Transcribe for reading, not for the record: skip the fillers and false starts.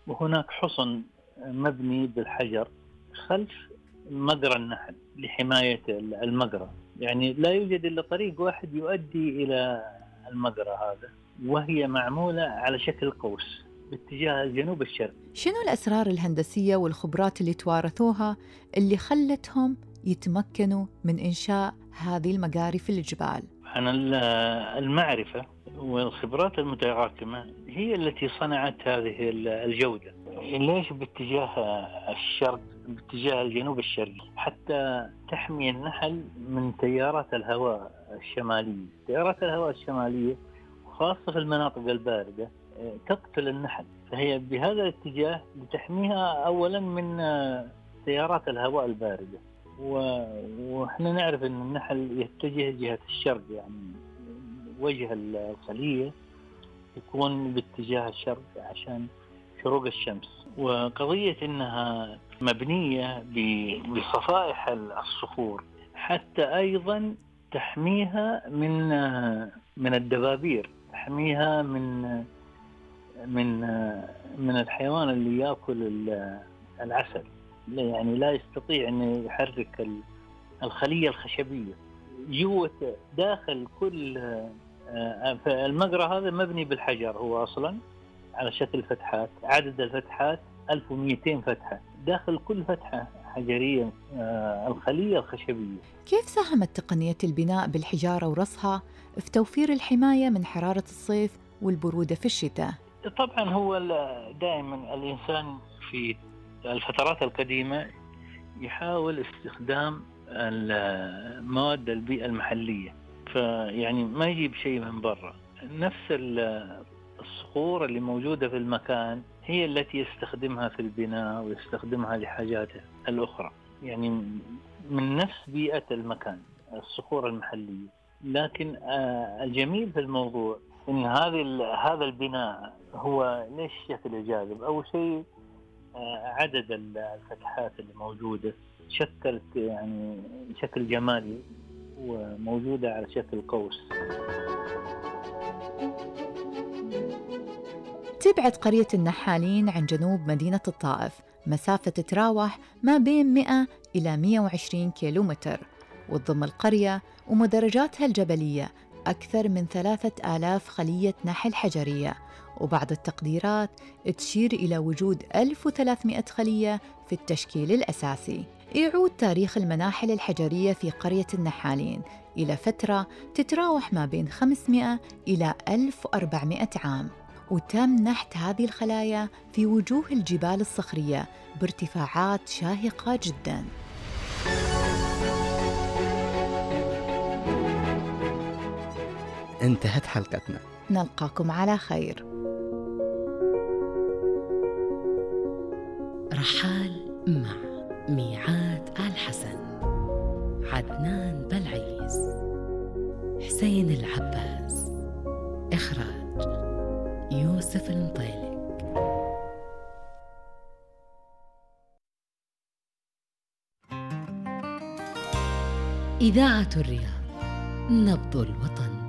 وهناك حصن مبني بالحجر خلف مجرى النحل لحماية المجرى. يعني لا يوجد إلا طريق واحد يؤدي إلى المجرى هذا، وهي معمولة على شكل قوس باتجاه الجنوب الشرقي. شنو الأسرار الهندسية والخبرات اللي توارثوها اللي خلتهم يتمكنوا من إنشاء هذه المجاري في الجبال؟ عن المعرفة والخبرات المتراكمة هي التي صنعت هذه الجودة. ليش باتجاه الشرق، باتجاه الجنوب الشرقي؟ حتى تحمي النحل من تيارات الهواء الشمالية. تيارات الهواء الشمالية خاصة في المناطق الباردة تقتل النحل، فهي بهذا الاتجاه لتحميها أولا من تيارات الهواء الباردة. وإحنا نعرف أن النحل يتجه جهة الشرق، يعني وجه الخلية يكون باتجاه الشرق عشان شروق الشمس. وقضية أنها مبنية بصفائح الصخور حتى أيضا تحميها من الدبابير، تحميها من الحيوان اللي يأكل العسل، يعني لا يستطيع أن يحرك الخلية الخشبية. جوة داخل كل المجرى هذا مبني بالحجر، هو أصلا على شكل فتحات، عدد الفتحات 1200 فتحة، داخل كل فتحة حجرية الخلية الخشبية. كيف ساهمت تقنية البناء بالحجارة ورصها في توفير الحماية من حرارة الصيف والبرودة في الشتاء؟ طبعا هو دائما الإنسان في الفترات القديمة يحاول استخدام المواد البيئة المحلية، فيعني ما يجيب شيء من برا. نفس الصخور اللي موجودة في المكان هي التي يستخدمها في البناء ويستخدمها لحاجاته الأخرى، يعني من نفس بيئة المكان، الصخور المحلية. لكن الجميل في الموضوع إن هذا البناء هو ليش شكل جاذب؟ أول شيء عدد الفتحات اللي موجودة شكلت يعني شكل جمالي وموجودة على شكل قوس. تبعد قرية النحالين عن جنوب مدينة الطائف مسافة تتراوح ما بين 100 إلى 120 كيلومتر، وتضم القرية ومدرجاتها الجبلية أكثر من 3000 خلية نحل حجرية، وبعض التقديرات تشير إلى وجود 1300 خلية في التشكيل الأساسي. يعود تاريخ المناحل الحجرية في قرية النحالين إلى فترة تتراوح ما بين 500 إلى 1400 عام، وتم نحت هذه الخلايا في وجوه الجبال الصخرية بارتفاعات شاهقة جداً. انتهت حلقتنا، نلقاكم على خير. رحال مع ميعاد الحسن، عدنان بلعيز، حسين العباس، إخراج يوسف المطيلق. إذاعة الرياض، نبض الوطن.